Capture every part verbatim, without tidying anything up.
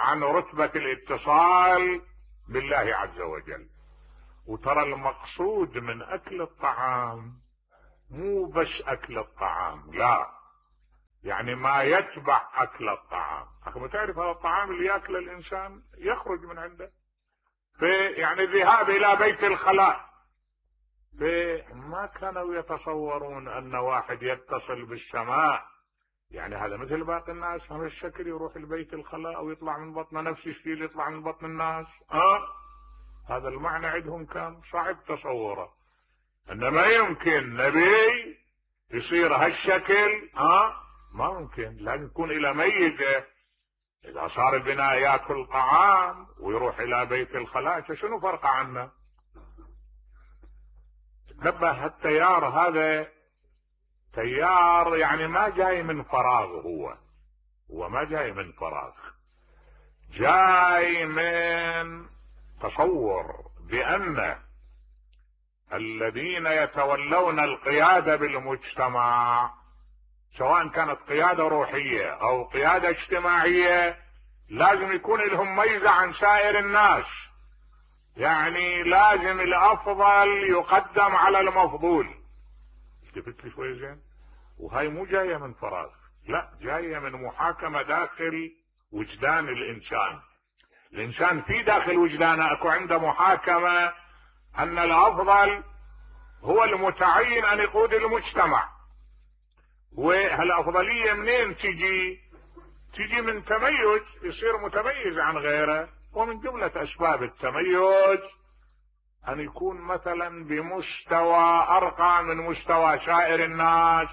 عن رتبة الاتصال بالله عز وجل. وترى المقصود من اكل الطعام مو بس اكل الطعام، لا، يعني ما يتبع اكل الطعام. اخي تعرف هذا الطعام اللي ياكل الانسان يخرج من عنده، في يعني الذهاب الى بيت الخلاء، ما كانوا يتصورون ان واحد يتصل بالسماء يعني هذا مثل باقي الناس هذا الشكل، يروح البيت الخلاء او يطلع من بطن نفس الشيء اللي يطلع من بطن الناس. اه هذا المعنى عندهم كان صعب تصوره، انما يمكن نبي يصير هالشكل. اه ما ممكن، لازم يكون الى ميزه. اذا صار البناء ياكل طعام ويروح الى بيت الخلاء شنو فرق عنه؟ تنبه التيار هذا تيار يعني ما جاي من فراغ، هو هو ما جاي من فراغ، جاي من تصور بأن الذين يتولون القيادة بالمجتمع سواء كانت قيادة روحية او قيادة اجتماعية لازم يكون لهم ميزة عن سائر الناس، يعني لازم الافضل يقدم على المفضول. التفت لي شوي زين؟ وهاي مو جاية من فراغ، لا، جاية من محاكمة داخل وجدان الانسان. الانسان في داخل وجدانه اكو عنده محاكمة ان الافضل هو المتعين ان يقود المجتمع. وهالافضلية منين تجي؟ تجي من تميز، يصير متميز عن غيره. ومن جملة اسباب التميز ان يكون مثلا بمستوى ارقى من مستوى سائر الناس،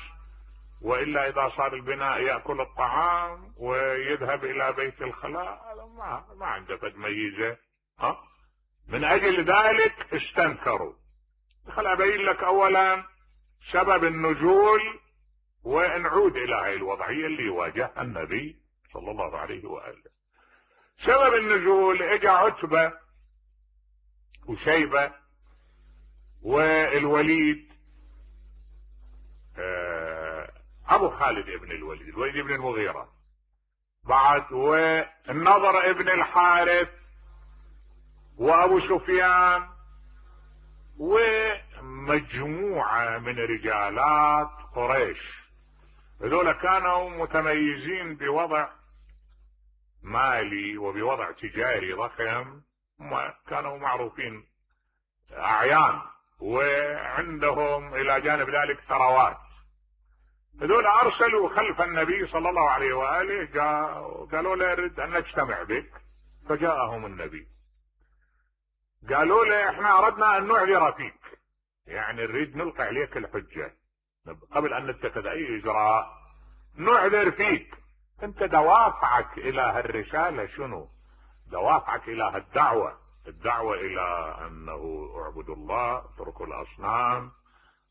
والا اذا صار البناء ياكل الطعام ويذهب الى بيت الخلاء هذا ما ما عنده فد ميزه. ها من اجل ذلك استنكروا. خل ابين لك اولا سبب النزول ونعود الى هاي الوضعيه اللي واجهها النبي صلى الله عليه واله. سبب النزول اجى عتبه وشيبه والوليد، ابو خالد ابن الوليد، الوليد ابن المغيرة، بعد والنضر ابن الحارث وابو سفيان ومجموعة من رجالات قريش. هذول كانوا متميزين بوضع مالي وبوضع تجاري ضخم، كانوا معروفين اعيان، وعندهم الى جانب ذلك ثروات. هذول ارسلوا خلف النبي صلى الله عليه واله، قالوا له نريد ان نجتمع بك. فجاءهم النبي قالوا له احنا اردنا ان نعذر فيك، يعني نريد نلقي عليك الحجه قبل ان نتخذ اي اجراء، نعذر فيك. انت دوافعك الى هالرساله شنو؟ دوافعك الى هالدعوه، الدعوه الى انه اعبدوا الله اتركوا الاصنام،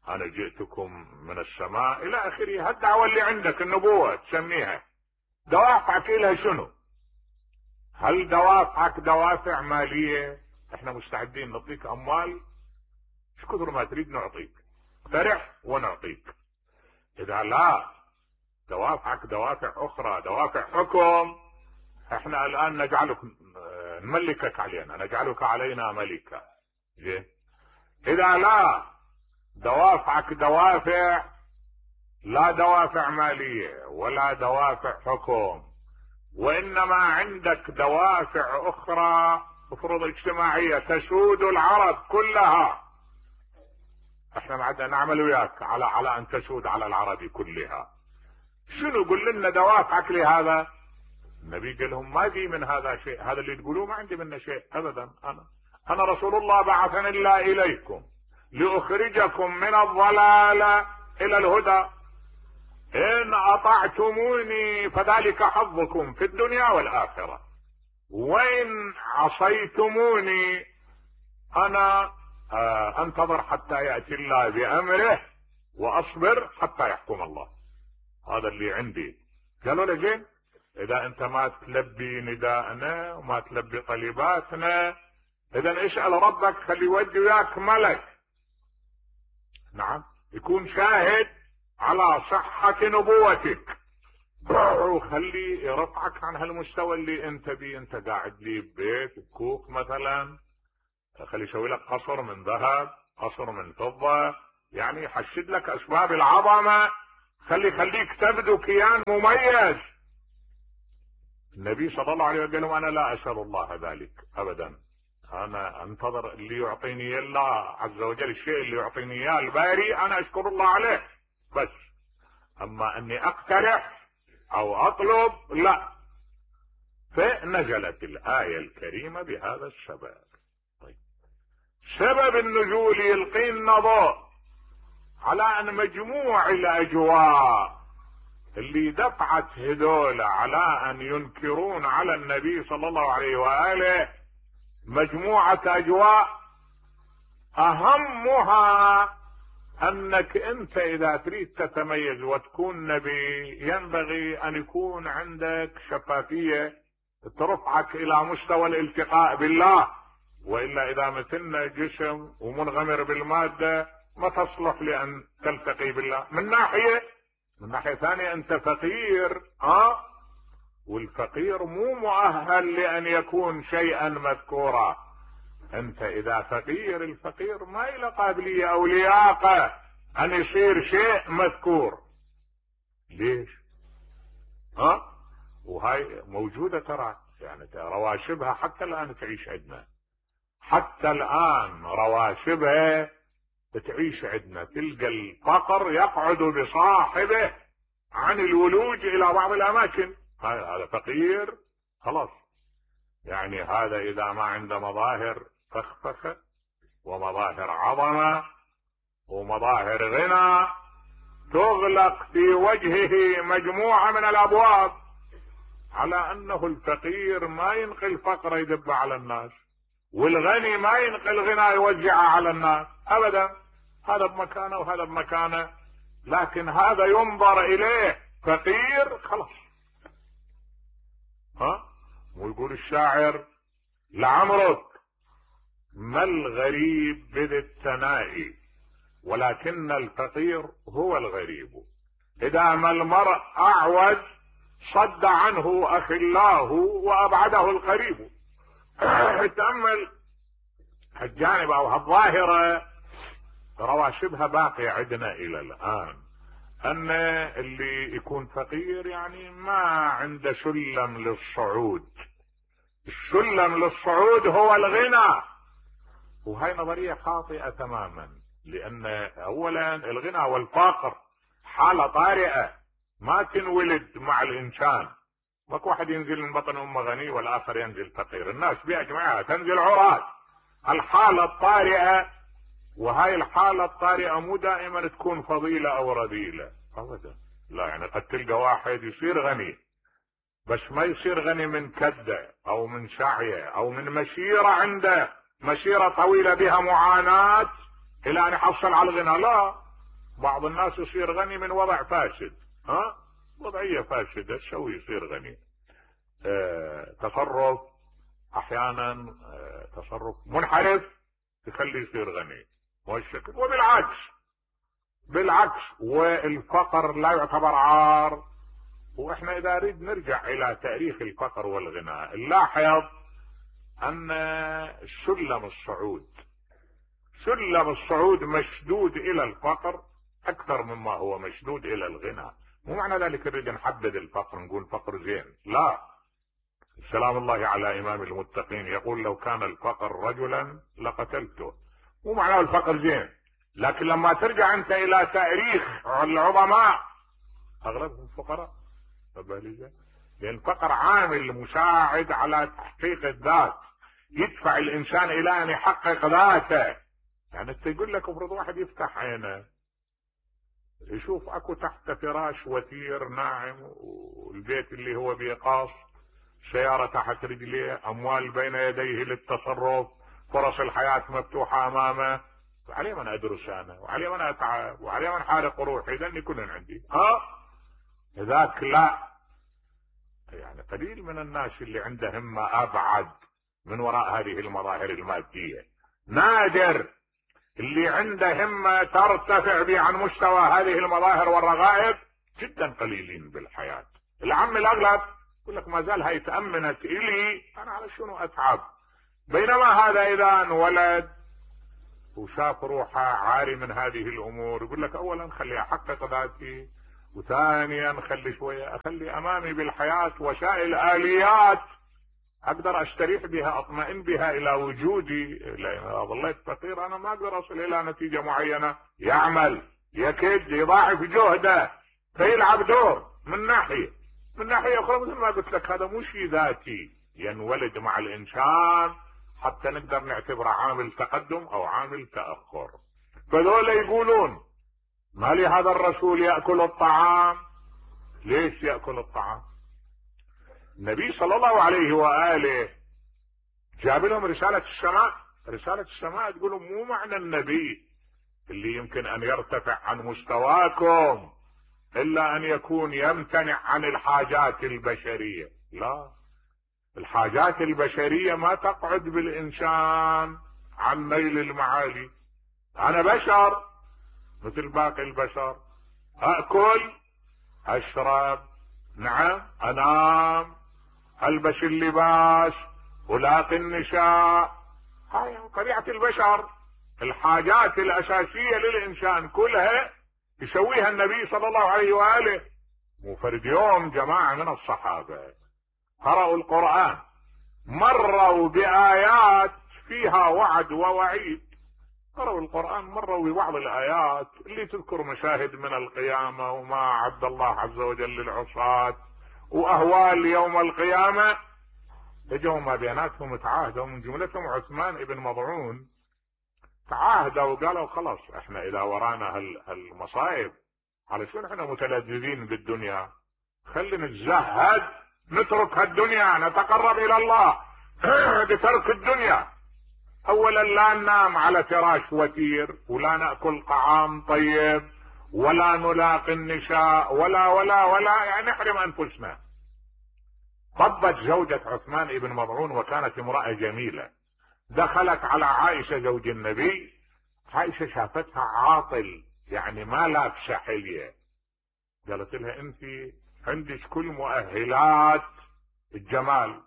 انا جئتكم من السماء الى اخره. هالدعوه اللي عندك النبوه تسميها، دوافعك الى شنو؟ هل دوافعك دوافع ماليه؟ احنا مستعدين نعطيك اموال ايش كثر ما تريد نعطيك، اقترح ونعطيك. اذا لا دوافعك دوافع اخرى، دوافع حكم، احنا الان نجعلك نملكك علينا، نجعلك علينا ملكا. زين؟ اذا لا دوافعك دوافع لا دوافع مالية ولا دوافع حكم، وانما عندك دوافع اخرى افرض اجتماعية تسود العرب كلها، احنا معدنا نعمل وياك على على ان تسود على العرب كلها. شنو؟ قل لنا دوافعك لهذا. النبي قال لهم ما في من هذا شيء، هذا اللي تقولوه ما عندي منه شيء ابدا. انا انا رسول الله بعثني الله اليكم لأخرجكم من الضلال إلى الهدى، إن أطعتموني فذلك حظكم في الدنيا والآخرة، وإن عصيتموني أنا أنتظر حتى يأتي الله بأمره وأصبر حتى يحكم الله. هذا اللي عندي. قالوا له زين، إذا أنت ما تلبي نداءنا وما تلبي طلباتنا إذا اسأل ربك خلي يودي وياك ملك، نعم، يكون شاهد على صحة نبوتك. وخلي يرفعك عن هالمستوى اللي انت بيه. انت قاعد لي ببيت بكوخ مثلا، خلي يسوي لك قصر من ذهب، قصر من فضة، يعني يحشد لك اسباب العظمة، خلي خليك تبدو كيان مميز. النبي صلى الله عليه وسلم قال لهم انا لا اسال الله ذلك ابدا، انا انتظر اللي يعطيني الله عز وجل، الشيء اللي يعطيني اياه الباري انا اشكر الله عليه بس، اما اني اقترح او اطلب لا. فنزلت الايه الكريمه بهذا السبب. طيب، سبب النزول يلقينا ضوء على ان مجموع الاجواء اللي دفعت هذول على ان ينكرون على النبي صلى الله عليه واله مجموعه اجواء، اهمها انك انت اذا تريد تتميز وتكون نبي ينبغي ان يكون عندك شفافيه ترفعك الى مستوى الالتقاء بالله، والا اذا مثلنا جسم ومنغمر بالماده ما تصلح لان تلتقي بالله. من ناحيه من ناحيه ثانيه انت فقير، اه والفقير مو مؤهل لان يكون شيئا مذكورا. انت اذا فقير، الفقير ما له قابليه او لياقه ان يصير شيء مذكور. ليش؟ ها؟ وهاي موجوده ترى، يعني رواشبها حتى الان تعيش عندنا، حتى الان رواشبها تعيش عندنا. تلقى الفقر يقعد بصاحبه عن الولوج الى بعض الاماكن. هذا فقير خلاص، يعني هذا اذا ما عنده مظاهر فخفخه ومظاهر عظمه ومظاهر غنى تغلق في وجهه مجموعه من الابواب، على انه الفقير ما ينقل فقره يدب على الناس، والغني ما ينقل غنى يوزعه على الناس ابدا، هذا بمكانه وهذا بمكانه. لكن هذا ينظر اليه فقير خلاص. ها؟ ويقول الشاعر لعمرك ما الغريب بذي الثناء ولكن الفقير هو الغريب، اذا ما المرء اعوز صد عنه اخلاه وابعده القريب. تأمل هالجانب او هالظاهرة رواشبها باقية عندنا الى الان، ان اللي يكون فقير يعني ما عنده سلم للصعود. السلم للصعود هو الغنى، وهي نظرية خاطئة تماما، لان اولا الغنى والفقر حالة طارئة ما تنولد مع الانسان. ماكو واحد ينزل من بطن امه غني والاخر ينزل فقير، الناس باجمعها تنزل عراة. الحالة الطارئة، وهاي الحالة الطارئة مو دائما تكون فضيلة او رذيلة ابدا، لا، يعني قد تلقى واحد يصير غني بس ما يصير غني من كده او من سعيه او من مسيرة عنده مسيرة طويلة بها معاناة الى ان يحصل على الغنى، لا، بعض الناس يصير غني من وضع فاسد، ها، وضعية فاسدة تسوي يصير غني. اه تصرف احيانا اه تصرف منحرف تخلي يصير غني، والشكل وبالعكس بالعكس. والفقر لا يعتبر عار. واحنا اذا نريد نرجع الى تاريخ الفقر والغنى نلاحظ ان سلم الصعود سلم الصعود مشدود الى الفقر اكثر مما هو مشدود الى الغنى. مو معنى ذلك نريد نحدد الفقر نقول فقر زين، لا. سلام الله على امام المتقين يقول لو كان الفقر رجلا لقتلته. مو معناه الفقر زين، لكن لما ترجع انت الى تاريخ العظماء اغلبهم فقراء، لان الفقر عامل مساعد على تحقيق الذات، يدفع الانسان الى ان يحقق ذاته. يعني انت يقول لك افرض واحد يفتح عينه يشوف اكو تحت فراش وثير ناعم، والبيت اللي هو بيقاص، سيارة تحت رجليه، اموال بين يديه للتصرف، فرص الحياة مفتوحة امامه، وعليه من ادرس انا، وعليه من اتعب، وعليه من حارق روحي، لاني كلن عندي. ها ذاك لا، يعني قليل من الناس اللي عنده همة ابعد من وراء هذه المظاهر المادية، نادر اللي عنده همة ترتفع به عن مستوى هذه المظاهر والرغائب، جدا قليلين بالحياة. العم الاغلب يقول لك ما زال هاي تأمنت الي، انا على شنو اتعب؟ بينما هذا اذا انولد وشاف روحه عاري من هذه الامور يقول لك اولا خلي احقق ذاتي، وثانيا خلي شويه اخلي امامي بالحياه وسائل اليات اقدر استريح بها اطمئن بها الى وجودي، لان اذا ظليت فقير انا ما اقدر اصل الى نتيجه معينه. يعمل يكد يضاعف جهده فيلعب دور من ناحيه، من ناحيه اخرى مثل ما قلت لك هذا مو شيء ذاتي ينولد مع الانسان حتى نقدر نعتبره عامل تقدم او عامل تاخر. فذولا يقولون ما لهذا الرسول ياكل الطعام؟ ليش ياكل الطعام؟ النبي صلى الله عليه واله جاب لهم رساله السماء، رساله السماء تقول مو معنى النبي اللي يمكن ان يرتفع عن مستواكم الا ان يكون يمتنع عن الحاجات البشريه، لا، الحاجات البشريه ما تقعد بالانسان عن نيل المعالي. انا بشر مثل باقي البشر، اكل اشرب، نعم انام، البس اللباس، الاقي النساء، هاي طبيعه البشر. الحاجات الاساسيه للانسان كلها يسويها النبي صلى الله عليه واله. وفرد يوم جماعه من الصحابه قرأوا القرآن مروا بآيات فيها وعد ووعيد، قرأوا القرآن مروا ببعض الآيات اللي تذكر مشاهد من القيامة وما أعد الله عز وجل للعصاة وأهوال يوم القيامة. اجوا ما بيناتهم تعاهدوا، من جملتهم عثمان ابن مضعون تعاهدوا وقالوا خلاص احنا اذا ورانا هالمصايب على شو احنا متلذذين بالدنيا، خلينا نتزهد نترك هالدنيا نتقرب الى الله بترك الدنيا. اولا لا ننام على فراش وتير، ولا ناكل طعام طيب، ولا نلاقي النساء، ولا ولا ولا يعني نحرم انفسنا. طبت زوجة عثمان ابن مضعون وكانت امرأة جميلة، دخلت على عائشة زوج النبي، عائشة شافتها عاطل يعني ما لابسة حلية، قالت لها انت عندك كل مؤهلات الجمال،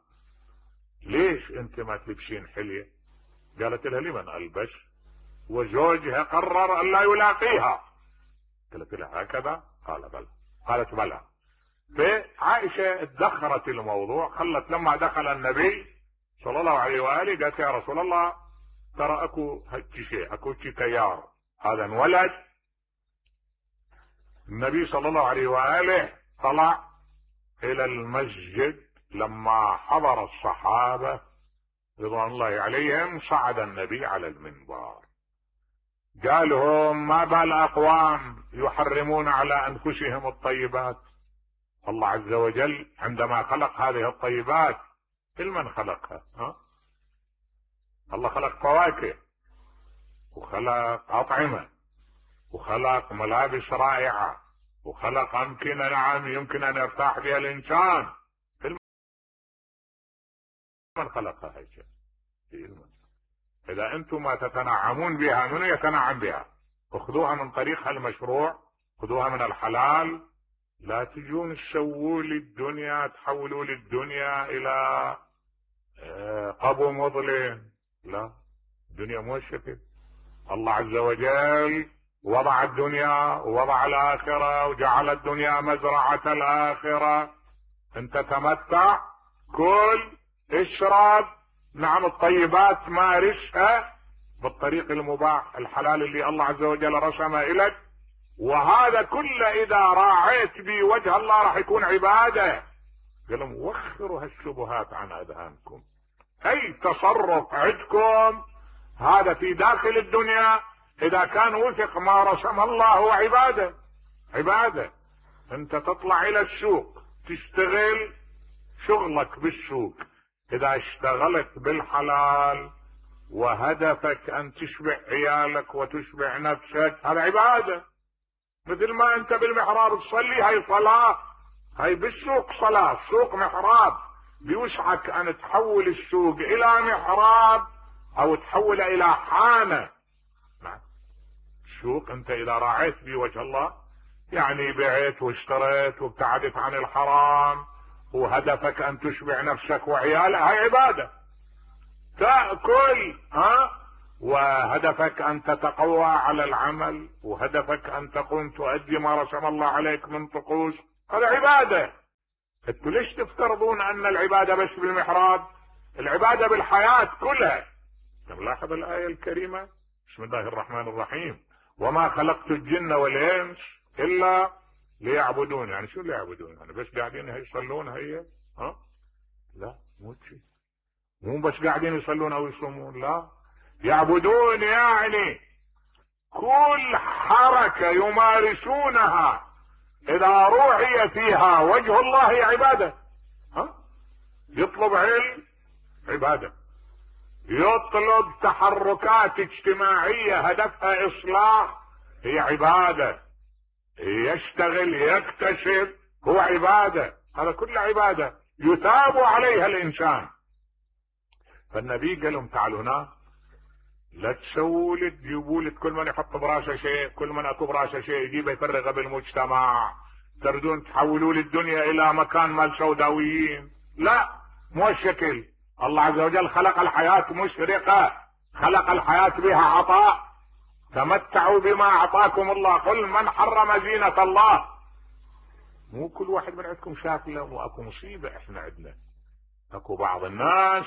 ليش انت ما تلبسين حلية؟ قالت لها لمن البس؟ وزوجها قرر ان لا يلاقيها. قالت لها هكذا؟ قال بلى. قالت بلى. فعائشة ادخرت الموضوع، خلت لما دخل النبي صلى الله عليه واله قالت يا رسول الله ترى اكو هيك شيء، اكو شيء تيار، هذا انولد. النبي صلى الله عليه واله طلع الى المسجد، لما حضر الصحابة رضوان الله عليهم صعد النبي على المنبر، قال لهم ما بال اقوام يحرمون على انفسهم الطيبات؟ الله عز وجل عندما خلق هذه الطيبات من خلقها؟ ها؟ الله خلق فواكه وخلق اطعمة وخلق ملابس رائعة وخلق امكنة نعم يمكن ان يرتاح بها الانسان، من خلقها هيك؟ اذا انتم ما تتنعمون بها من يتنعم بها؟ اخذوها من طريقها المشروع، خذوها من الحلال، لا تجون تسووا لي الدنيا تحولوا لي الدنيا الى قبو مظلم، لا، الدنيا مو الشكل. الله عز وجل وضع الدنيا ووضع الاخرة وجعل الدنيا مزرعة الاخرة، انت تمتع كل اشرب، نعم الطيبات مارسها بالطريق المباح الحلال اللي الله عز وجل رسمه لك، وهذا كله اذا راعيت بوجه الله راح يكون عبادة. قالوا وخروا هالشبهات عن اذهانكم، اي تصرف عندكم هذا في داخل الدنيا اذا كان وفق ما رسم الله هو عبادة. عبادة انت تطلع الى السوق تشتغل شغلك بالسوق، اذا اشتغلت بالحلال وهدفك ان تشبع عيالك وتشبع نفسك هذا عبادة. مثل ما انت بالمحراب تصلي هاي صلاة، هاي بالسوق صلاة، السوق محراب، بيوسعك ان تحول السوق الى محراب او تحول الى حانة. السوق انت اذا راعيت بوجه الله يعني بعت واشتريت وابتعدت عن الحرام وهدفك ان تشبع نفسك وعيالك، هاي عبادة. تأكل ها وهدفك ان تتقوى على العمل، وهدفك ان تقوم تؤدي ما رسم الله عليك من طقوس، هذا عبادة. انتوا ليش تفترضون ان العبادة بس بالمحراب؟ العبادة بالحياة كلها. نلاحظ الآية الكريمة، بسم الله الرحمن الرحيم، وما خلقت الجن والانس الا ليعبدون. يعني شو ليعبدون؟ يعني بس قاعدين يصلون هي؟ ها؟ لا مو شيء، مو بس قاعدين يصلون او يصومون، لا، يعبدون يعني كل حركة يمارسونها اذا روعي فيها وجه الله هي عبادة. ها؟ يطلب علم عبادة، يطلب تحركات اجتماعية هدفها اصلاح هي عبادة، يشتغل يكتشف هو عبادة، هذا كله عبادة يثاب عليها الانسان. فالنبي قال لهم تعالوا هنا، لا تسووا لي تجيبوا لي كل من يحط براسه شيء، كل من اكو براسه شيء يجيبه يفرغه بالمجتمع، تردون تحولوا لي الدنيا الى مكان مال سوداويين. لا، مو الشكل. الله عز وجل خلق الحياة مشرقة، خلق الحياة بها عطاء، تمتعوا بما اعطاكم الله. قل من حرم زينة الله. مو كل واحد من عندكم شاف له، واكو مصيبة احنا عندنا، اكو بعض الناس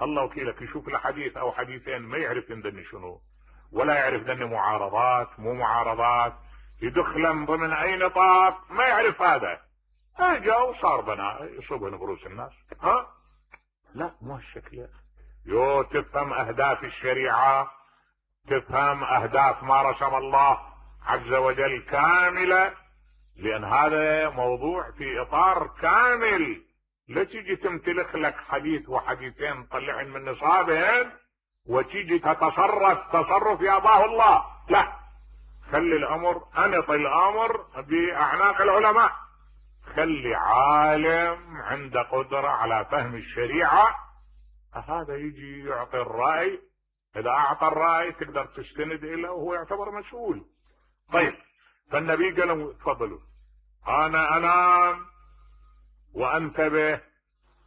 الله وكيلك يشوف له حديث او حديثين ما يعرف عندني شنو، ولا يعرف دني معارضات مو معارضات، يدخل من ضمن اي نطاق ما يعرف. هذا اجا وصار بنا يصبن بروس الناس. ها؟ لا مو هالشكل. يو تفهم اهداف الشريعة، تفهم اهداف ما رسم الله عز وجل كاملة، لان هذا موضوع في اطار كامل. لا تيجي تمتلك لك حديث وحديثين طلعن من نصابهن وتيجي تتصرف تصرف ياباه الله. لا، خلي الامر، انط الامر باعناق العلماء، خلي عالم عنده قدرة على فهم الشريعة، هذا يجي يعطي الرأي. اذا اعطى الرأي تقدر تستند اليه وهو يعتبر مسؤول. طيب، فالنبي قال لهم تفضلوا، انا انام وانتبه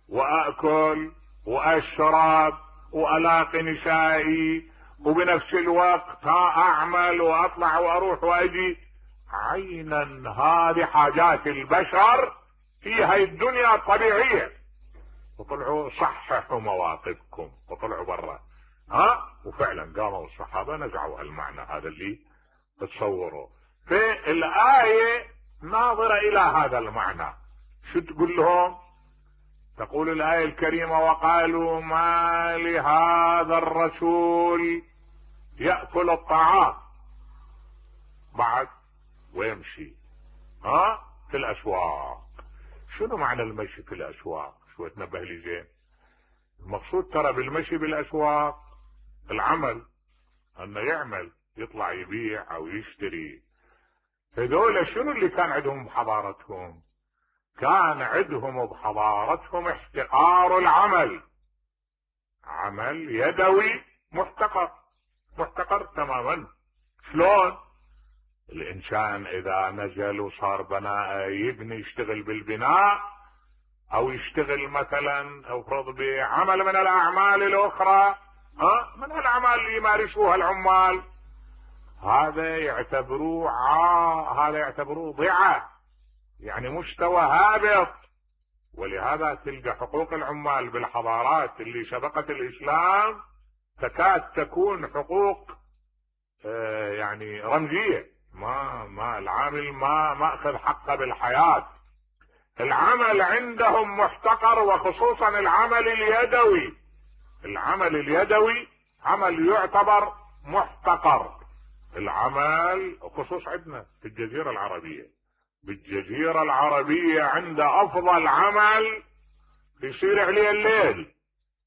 واكل واشرب والاقي نسائي، وبنفس الوقت اعمل واطلع واروح واجي. عينا هذه حاجات البشر في هاي الدنيا الطبيعية. وطلعوا صححوا مواقفكم وطلعوا برا. ها؟ وفعلا قاموا الصحابة نزعوا المعنى هذا اللي تصوروا. في الآية ناظرة الى هذا المعنى. شو تقول لهم؟ تقول الآية الكريمة وقالوا ما لهذا الرسول يأكل الطعام بعد ويمشي ها في الأسواق. شنو معنى المشي في الأسواق؟ شو تنبه لي زين. المقصود ترى بالمشي بالأسواق العمل، انه يعمل يطلع يبيع او يشتري. هذول شنو اللي كان عندهم بحضارتهم؟ كان عندهم بحضارتهم احتقار العمل، عمل يدوي محتقر، محتقر تماما. شلون؟ الانسان اذا نزل وصار بناء يبني يشتغل بالبناء او يشتغل مثلا او فرض بعمل من الاعمال الاخرى، ها من الاعمال اللي يمارسوها العمال، هذا يعتبروه عا هذا يعتبروه ضيعة، يعني مستوى هابط. ولهذا تلقى حقوق العمال بالحضارات اللي سبقت الاسلام تكاد تكون حقوق آه يعني رمزية، ما ما العامل ما ما اخذ حقه بالحياة. العمل عندهم محتقر، وخصوصا العمل اليدوي. العمل اليدوي عمل يعتبر محتقر. العمل خصوص عندنا في الجزيرة العربية، بالجزيرة العربية عند افضل عمل يصير عليه الليل.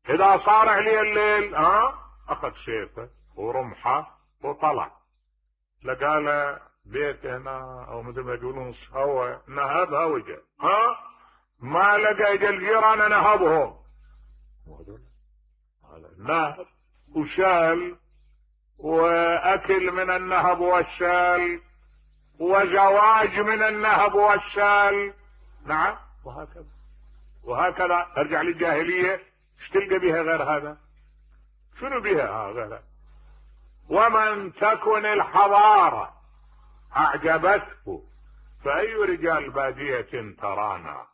اذا صار عليه الليل ها اخذ سيفه ورمحه وطلع لقى له بيت هنا او مثل ما يقولون هو نهبها وجه، ها ما لقى اجى الجيران نهبهم، هذا نهب وشال واكل من النهب والشال وزواج من النهب والسال. نعم، وهكذا وهكذا. ارجع للجاهلية، ايش تلقى بها غير هذا؟ شنو بها غير؟ ومن تكن الحضارة اعجبته فاي رجال بادية ترانا.